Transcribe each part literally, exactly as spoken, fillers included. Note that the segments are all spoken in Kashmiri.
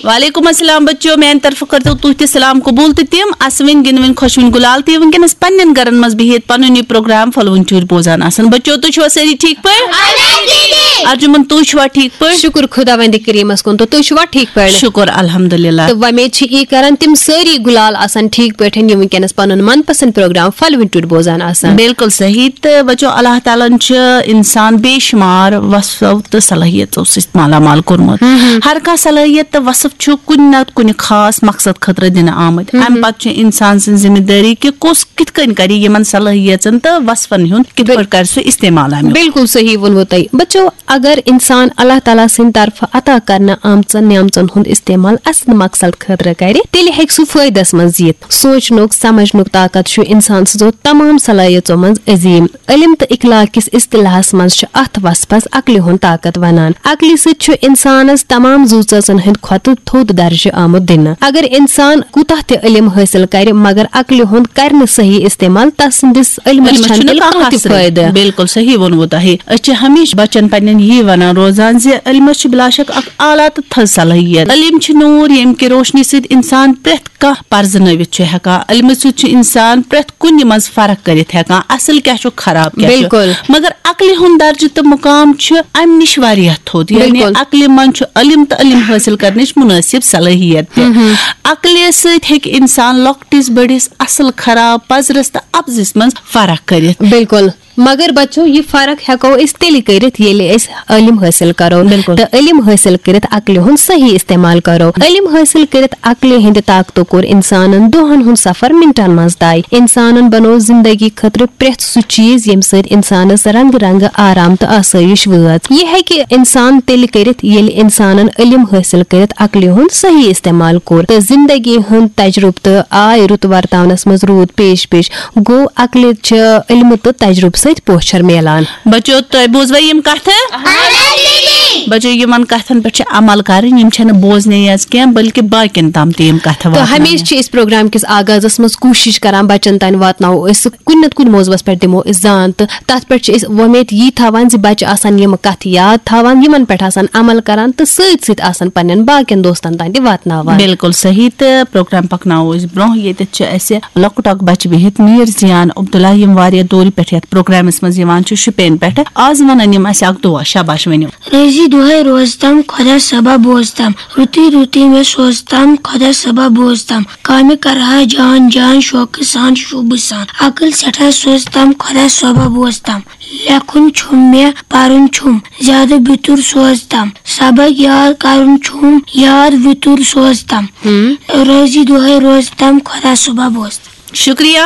وعلیکم السلام بچو، میانہِ طرفہٕ کٔرۍتو تُہۍ تہِ سلام قبول تہٕ تِم اسوٕنۍ گِنٛدوٕنۍ خۄشوٕنۍ گُلال تہِ وٕنکیٚنس پننٮ۪ن گرن منٛز بِہِتھ پنُن یہِ پروگرام پھۄلوٕنۍ ٹھوٗرۍ بوزان آسان۔ بچو، تُہۍ چھِوا سٲری ٹھیٖک پٲٹھۍ؟ ارجُمن، تُہۍ چھِوا ٹھیٖک پٲٹھۍ؟ شُکُر خۄداوندِ کریٖمس کُن، تہٕ تُہۍ چھِوا ٹھیٖک پٲٹھۍ؟ شُکُر الحمدللہ۔ تہٕ وۄمید چھِ یی کران تِم سٲری گُلال آسن ٹھیٖک پٲٹھۍ، یِم وٕنکیٚنس پنُن من پسند پروگرام پھۄلوٕنۍ ٹھوٗرۍ بوزان آسن۔ بِلکُل صحیح۔ تہٕ بچو، اللہ تعالیٰ ہن چھُ انسان بے شُمار وصفو تہٕ صلٲحیتو سۭتۍ مالا مال کوٚرمُت۔ ہر کانٛہہ صلٲحیت تہٕ وصف چھُ کُنہِ نتہٕ کُنہِ خاص مقصد خٲطرٕ دِنہٕ آمٕتۍ۔ امہِ پتہٕ چھِ انسان سٕنٛز ذمہٕ دٲری کہِ کُس کِتھ کٔنۍ کرِ یِمن صلٲحیتن تہٕ وصفن ہُنٛد کِتھ پٲٹھۍ کرِ سُہ استعمال امیُک۔ بِلکُل صحیح ووٚنوٕ تۄہہِ۔ بچو، اگر انسان اللہ تعالیٰ سٕنٛدِ طرفہٕ عطا کرنہٕ آمژن نعمژن ہُنٛد استعمال اصل مقصد خٲطرٕ کرِ، تیٚلہِ ہیٚکہِ سُہ فٲیدس منٛز یِتھ۔ سونٛچنُک، سمجھنُک طاقت چھُ انسان سٕنٛزو تمام صلٲحیژو منٛز عظیٖم۔ علم تہٕ اخلاق کِس اصطلاحس منٛز چھُ اتھ وصفس عقلہِ ہُنٛد طاقت ونان۔ عقلہِ سۭتۍ چھُ انسانس تمام زُو ژٲژن ہٕنٛدِ کھۄتہٕ تھوٚد درجہٕ آمُت دِنہٕ۔ اگر انسان کوٗتاہ تہِ علم حٲصِل کرِ، مگر عقلہِ ہُنٛد کرِ نہٕ صحیح استعمال، تس سٕنٛدِس علمس علمس چھنہٕ چھُنہٕ تیٚلہِ کانٛہہ کانٛہہ تہِ حاصل۔ فٲیدٕ۔ بِلکُل صحیح ووٚنوٕ تۄہہِ۔ أسۍ چھِ ہمیشہِ بچن پننٮ۪ن یی ونان روزان زِ علمس چھِ بلا شک اکھ اعلیٰ تہٕ تھٔز صلٲحیت۔ علم چھِ نوٗر، ییٚمہِ کہِ روشنی سۭتۍ انسان پرٛٮ۪تھ کانٛہہ پرزنٲوِتھ چھُ ہٮ۪کان۔ علمہٕ سۭتۍ چھُ انسان پرٛٮ۪تھ کُنہِ منٛز فرق کٔرِتھ ہٮ۪کان، اصل کیٛاہ چھُ، خراب کیٛاہ چھُ۔ بِلکُل۔ مگر عقلہِ ہُنٛد درجہٕ تہٕ مقام چھُ امہِ نِش واریاہ تھوٚد، یعنی بِلکُل۔ عقلہِ منٛز چھُ علم تہٕ علم حٲصِل کرنٕچ مُنٲسِب صلٲحیت تہِ۔ عقلہِ سۭتۍ ہیٚکہِ انسان لۄکٹِس بٔڑِس، اصل خراب، پزرس تہٕ اپزِس منٛز فرق کٔرِتھ۔ بِلکُل۔ مگر بچو، یہِ فرق ہٮ۪کو أسۍ تیٚلہِ کٔرِتھ، ییٚلہِ أسۍ علم حٲصِل کرو۔ بِلکُل۔ تہٕ علم حٲصِل کٔرِتھ عقلہِ ہُنٛد صحیح استعمال کرو۔ علم حٲصِل کٔرِتھ عقلہِ ہٕنٛدِ طاقتہٕ کوٚر انسانن دۄہن ہُنٛد سفر منٹن منٛز طے۔ انسانن بنوو زندگی خٲطرٕ پرٛٮ۪تھ سُہ چیٖز، ییٚمہِ سۭتۍ انسانس رنگہٕ رنگہٕ آرام تہٕ آسٲیِش وٲژ۔ یہِ ہیٚکہِ انسان تیٚلہِ کٔرِتھ، ییٚلہِ انسانن علم حٲصِل کٔرِتھ عقلہِ ہُنٛد صحیح استعمال کوٚر تہٕ زندگی ہُنٛد تجربہٕ تہٕ آے رُت ورتاونس منٛز روٗد پیش پیش۔ گوٚو، عقلہِ چھِ علمہٕ تہٕ تجربہٕ سۭتۍ پوچھر میلان۔ بچو، تۄہہِ بوٗزوا یِم کتھٕ؟ بچو، یِمن کتھن پٮ۪ٹھ چھِ عمل کرٕنۍ، یِم چھنہٕ بوزنے یٲژ کینٛہہ، بلکہِ باقین تام تہِ یِم کتھٕ تہٕ واتناونہِ۔ ہمیشہِ چھِ أسۍ پروگرام کِس آغازس منٛز کوٗشش کران بچن تام واتناوو أسۍ کُنہِ نتہٕ کُنہِ موضوعس پٮ۪ٹھ دِمو أسۍ زان، تہٕ تتھ پٮ۪ٹھ چھِ أسۍ وۄمید یی تھاوان زِ بچہِ آسن یِم کتھٕ یاد تھاوان، یِمن پٮ۪ٹھ آسن عمل کران تہٕ سۭتۍ سۭتۍ آسن پننٮ۪ن باقین دوستن تام تہِ واتناوان۔ بِلکُل صحیح۔ تہٕ پروگرام پکناوو أسۍ برونٛہہ۔ ییٚتٮ۪تھ چھِ اَسہِ لۄکُٹ اکھ بچہٕ بِہِتھ، میٖر زیان عبداللہ، یِم واریاہ دوٗرِ پٮ۪ٹھ یَتھ پروگرامَس منٛز یِوان چھِ، شُپین پٮ۪ٹھ۔ آز وَنَن یِم اَسہِ اکھ دُعا۔ شاباش، ؤنِو۔ رٲضی دۄہَے روزتم، خۄدا صٲبا بوزتم۔ رُتُے رُتُے مےٚ سوزتم، خۄدا صٲبا بوزتم۔ کامہِ کرہا جان جان، شوقہٕ سان، شوٗبہٕ سان۔ عقل سٮ۪ٹھاہ سوزتم، خۄدا صٲبا بوزتم۔ لیکھُن چھُم مےٚ، پرُن چھُم، زیادٕ بیتُر سوزتم۔ سبق یاد کرُن چھُم، یاد وِتُر سوزتم۔ رٲضی دۄہے روزتم، خۄدا صٲبا بوزتم۔ شُکریہ۔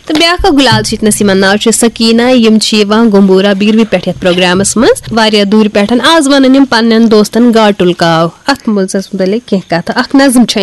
تہٕ بیٛاکھ اکھ گُلال چھِ ییٚتنَس، یِمن ناو چھُ سکیٖنہ، یِم چھِ یِوان گمبورہ بیٖروِ پٮ۪ٹھ یَتھ پروگرامَس منٛز واریاہ دوٗرِ پٮ۪ٹھ۔ آز وَنَن یِم پننٮ۪ن دوستن گاٹُل کاو۔ اَتھ موضوعس مُتعلِق کینٛہہ کَتھٕ۔ اکھ نظم چھےٚ